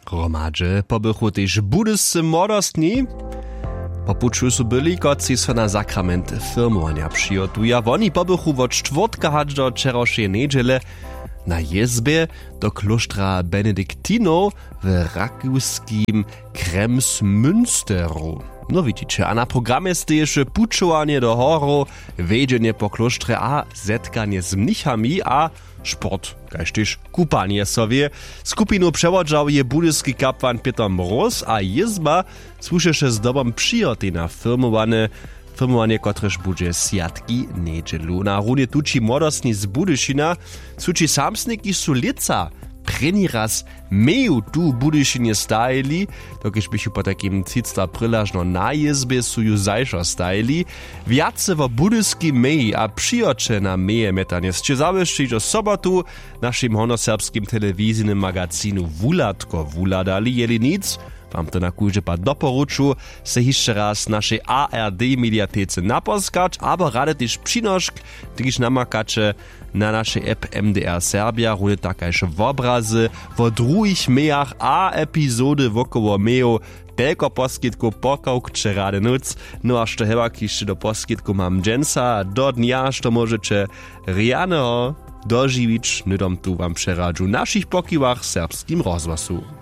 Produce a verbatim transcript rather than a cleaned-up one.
Hromadźe pobychu tež budyscy młodostni. Po puću su byli, kotřiž so na sakrament firmowanja přihotuja. Woni pobychu wot štwórtka hač do wčerawšeje njedźele na jězbje do klóštra benediktinow w rakowskim Kremsmünsteru. No widźiće, a na programje steješe pućowanje do horow, wjedźenje po klóštrje a zetkanje z mnichami a sport, kaž tež kupanje so wě. Skupinu přewodźał je budyski kapłan Pětr Mróz a jězba słušeše zdobom přihotej na firmowanje, firmowanje, kotrež budźe swjatki njedźelu. Na runje tući młodostni z Budyšina, tući samsniki su lětsa prěni raz meju tu w Budyšinje stajili, dokelž běchu potajkim třicta prělažno na jězbje, su ju zašo stajili. Wjace wo budyskej meji a přihoće na meje mjetanje sće zawěsće hižo sobotu w našim hornjoserbskim telewizijnym magazinu Wuhladko wuhladali. Jeli nic, wam to na kóždy pad doporuču, sej hišće raz w našej A R D mediatece naposkać abo rady tež přinošk, kiž namakaće na našej app M D R Serbja, runje tak kaž wobrazy wo druhich mejach a epizody wokoło mejow. Telko poskitkow, pokawkće rady nóc. No a što hewak hišće do poskitkow mam dźensa do dnja, što móžeće rjaneho dožiwić, hnydom tu wam přeradźu w našich pokiwach w Serbskim rozhłasu.